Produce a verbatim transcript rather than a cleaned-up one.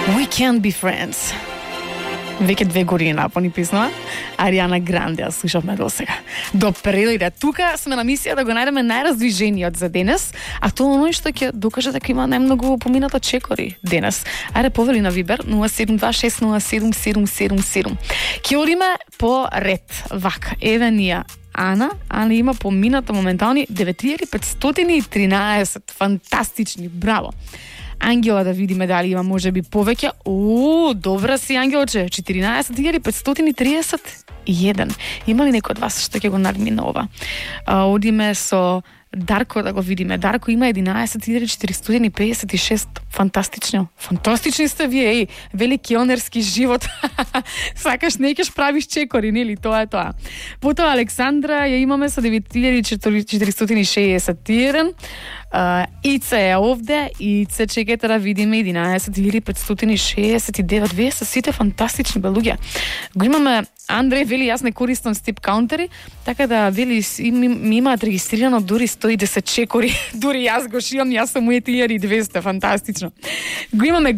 We Can't Be Friends. Веќе две години напони песна. Ариана Гранде, ја слушавме до сега. До прелиде. Тука сме на мисија да го најдеме најраздвижениот за денес, а тоа оној што ќе докаже дека има најмногу помината чекори денес. Ајде повели на Вибер нула седум два шест нула седум седум седум седум. Ќе одиме по ред. Вака, еве ние Ана, Ана има помината моментални девет илјади петстотини и тринаесет. Фантастични, браво. Ангела, да видиме дали има можеби повеќе. О, добра си, Ангелче, четиринаесет илјади петстотини и триесет и еден. Има ли некој од вас што ќе го надмина ова? А, одиме со Дарко да го видиме. Дарко има единаесет илјади четиристотини и пеесет и шест. Фантастично. Фантастични сте вие, еј. Вели келнерски живот. Сакаш не ќе правиш чекори, нели? Тоа е тоа. Потоа Александра ја имаме со девет илјади четиристотини и шеесет и еден. Uh, Ице е овде, Ице чекате да видиме единаесет илјади петстотини и шеесет и девет. Вие се сите фантастични белуѓа. Го имаме Андреј, вели јас не користам стип каунтери, така да вели ми, ми имаат регистрирано дури сто и десет чекори. Дури јас го шијам, јас сум у илјада и двесте, фантастично. Го имаме